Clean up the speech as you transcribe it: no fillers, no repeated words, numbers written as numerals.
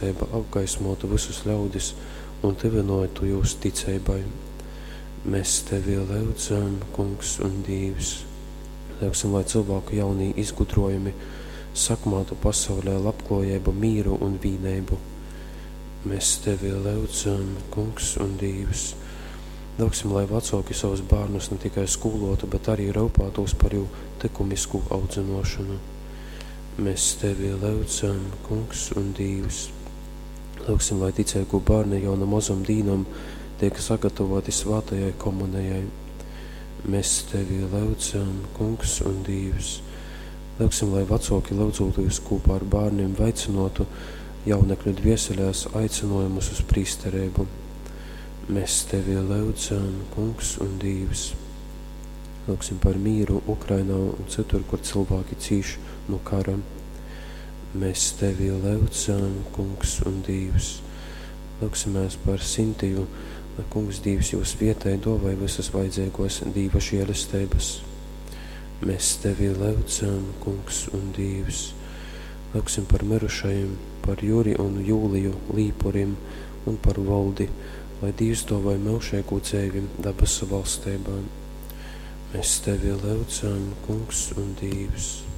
Apgaismōtu vysus ļaudis un tyvynōtu jūs ticeibai. Mēs Tevi lyudzam, Kungs un Dīvs. Lyugsim, lai cylvāku jaunī izgudrōjumi sakmātu pasaulē labklōjeibu, mīru un vīneibu. Mēs Tevi lyudzam, Kungs un Dīvs. Lyugsim, lai vacōki savus bārnus ne tikai skūlōtu, bet arī ryupātūs par jū tykumisku audzynōšonu. Mēs Tevi lyudzam, Kungs un Dīvs. Lyugsim, lai ticeigū bārni jau nu mozom dīnom tiek sagatavoti svātajai komunejai. Mēs Tevi lyudzam, Kungs un Dīvs. Lyugsim, lai vacōki lyudzūtīs kūpā ar bārnim veicynōtu jaunekļu dvieselēs aicinājumus uz prīstereibu. Mēs Tevi lyudzam, Kungs un Dīvs. Lūgsim par mīru Ukrainā un citur, kur cilvēki cīš no kara. Mēs Tevi lyudzam, Kungs un Dīvs. Lūgsimies par Sintiju, lai Kungs Dīvs jūs vietai dovai visas vajadzīgos Dīva žēlestības. Mēs Tevi lyudzam, Kungs un Dīvs. Lūgsim par mirušajiem, par Juri un Jūliju Līpurim un par Voldi, lai Dīvs dovai myužīgu dzeivi dabasu valstībā. Mēs Tevi lyudzam, Kungs un Dīvs.